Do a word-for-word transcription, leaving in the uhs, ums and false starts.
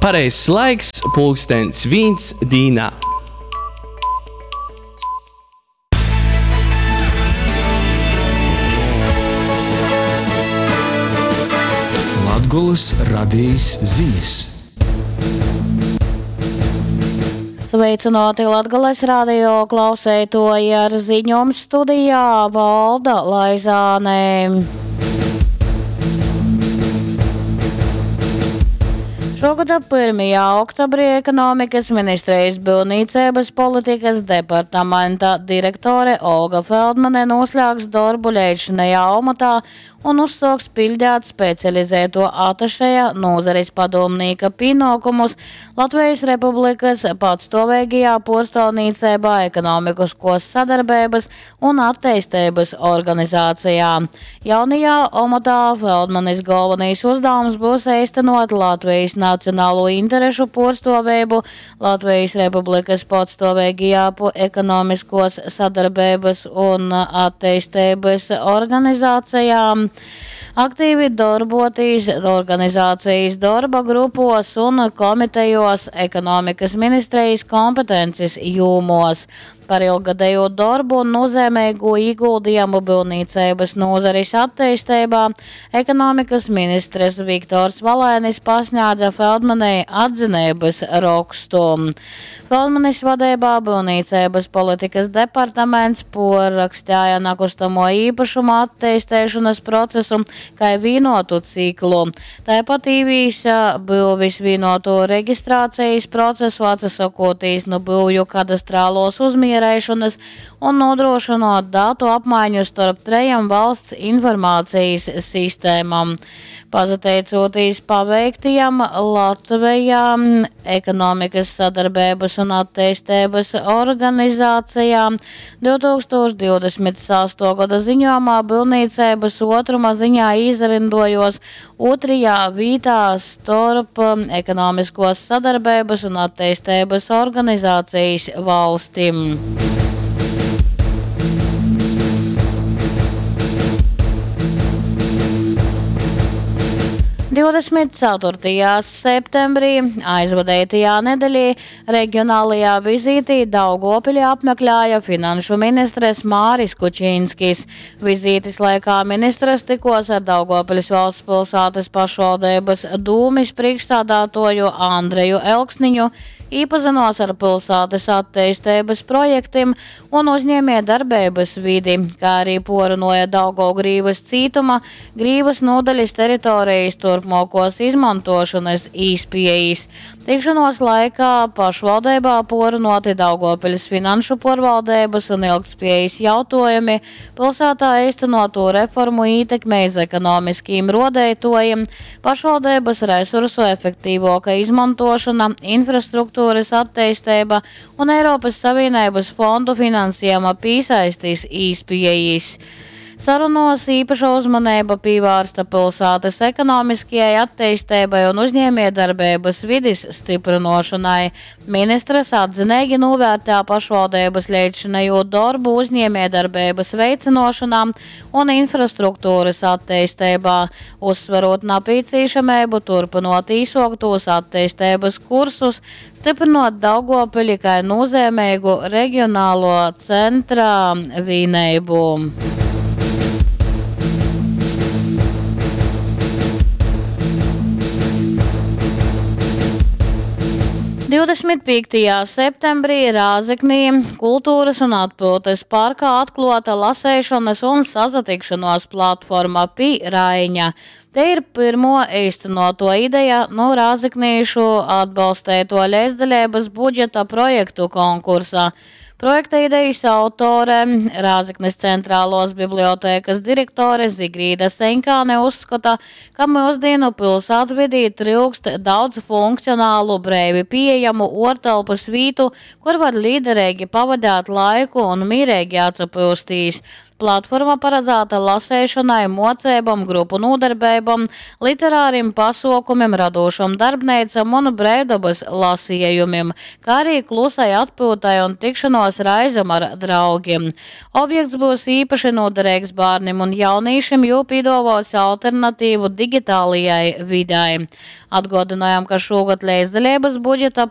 Pareizs laiks pulkstens vīns dīnā. Latgolys radejis zinis. Sveicināti Latgales radio klauseitoji ar ziņom studijā Valda Laizāne. Šogada pirmajā oktobrī ekonomikas ministrijas būvniecības politikas departamenta direktore Olga Feldmane noslēgs darbu leidzšinējā amatā un uzsāks pildīt specializēto atašeja nozares padomnieka pienākumus Latvijas Republikas patstāvīgajā puorstāvniecībā ekonomiskos sadarbības un attīstības organizācijā. Jaunajā amatā Feldmanis galvenais uzdevums būs īstenot Latvijas nacionālo interešu puorstāvību Latvijas Republikas patstāvīgajā ekonomiskos sadarbības un attīstības organizācijā. Aktīvi darbotīs organizācijas darba grupos un komitejos ekonomikas ministrijas kompetences jūmos. Par ilggadējo darbu un nozīmīgu ieguldījumu būvniecības nozares attīstībā ekonomikas ministrs Viktors Valainis pasniedza Feldmanei atzinības rakstu. Feldmanis vadībā būvniecības politikas departaments porrakstīja nekustamo īpašumu attīstīšanas procesu kā vienotu ciklu. Tāpat īvīsa būvis vienoto reģistrācijas procesu atsakotīs no būvju kadastrālos uzmierēšanas un nodrošinot datu apmaiņu starp trejām valsts informācijas sistēmām. Pasateicoties paveiktajam Latvijā ekonomikas sadarbības un attīstības organizācijā divtūkstoš divdesmit sesto gada ziņojumā būvniecības otruma ziņā izrindojos otrajā vietā starp ekonomiskos sadarbības un attīstības organizācijas valstīm. divdesmit ceturtajā septembrī aizvadītajā nedēļā reģionālajā vizītī Daugavpili apmeklēja finanšu ministres Māris Kučinskis. Vizītes laikā ministrs tikos ar Daugavpils valsts pilsētas pašvaldības dūmis priekšsādātoju Andreju Elksniņu, iepazinos ar pilsētas attīstības projektiem un uzņēmējdarbības vidi, kā arī porunoja Daugavgrīvas cītuma, Grīvas nodaļas teritorijas turpmākos izmantošanas īspējas. Tikšanos laikā pašvaldībā porunoti Daugavpils finanšu porvaldības un ilgtspējas jautājumi, pilsētā īstenoto reformu ietekme iz ekonomiskiem rodētojiem, pašvaldības resursu efektīvāka izmantošana, infrastruktūras attīstība un Eiropas Savienības fondu finansējuma piesaistis īspējas. Sarunos īpaša uzmanība pievērsta pilsētas ekonomiskajai attīstībai un uzņēmējdarbības vides stiprinošanai. Ministrs atzinīgi novērtē pašvaldības līdzšinējo darbu uzņēmējdarbības veicinošanā un infrastruktūras attīstībā, uzsverot nepieciešamību turpinot īsoktos attīstības kursus, stiprinot Daugavpili kā nozīmīgu reģionālo centra vienību. divdesmit piektajā septembrī Rāzeknī kultūras un atpūtas parkā atklāta lasēšanas un sazatikšanos platforma Pi Raiņa. Te ir pirmo īstenoto ideja no rāzeknīšu atbalstēto līdzdalības budžeta projektu konkursa. Projekta idejas autore, Rāzeknes centrālos bibliotēkas direktore Zigrīda Senkāne uzskata, ka mūsdienu pilsētvidī trūkst daudz funkcionālu, breivi pieejamu ortelpas vītu, kur var līderīgi pavadīt laiku un mierīgi atsapūstīs. Platforma paradzāta laseišonai, muoceibom, grupu nūdarbeibom, literarim pasuokumim, radūšom darbneicom un breivdobys lasejumim, kā arī klusai atpyutai un tikšanuos reizem ar draugim. Objekts byus īpaši noderīgs bērniem un jauniešiem, jo piedāvās alternatīvu digitālajai videi. Atgādinājām, ka šogad līdzdalības budžeta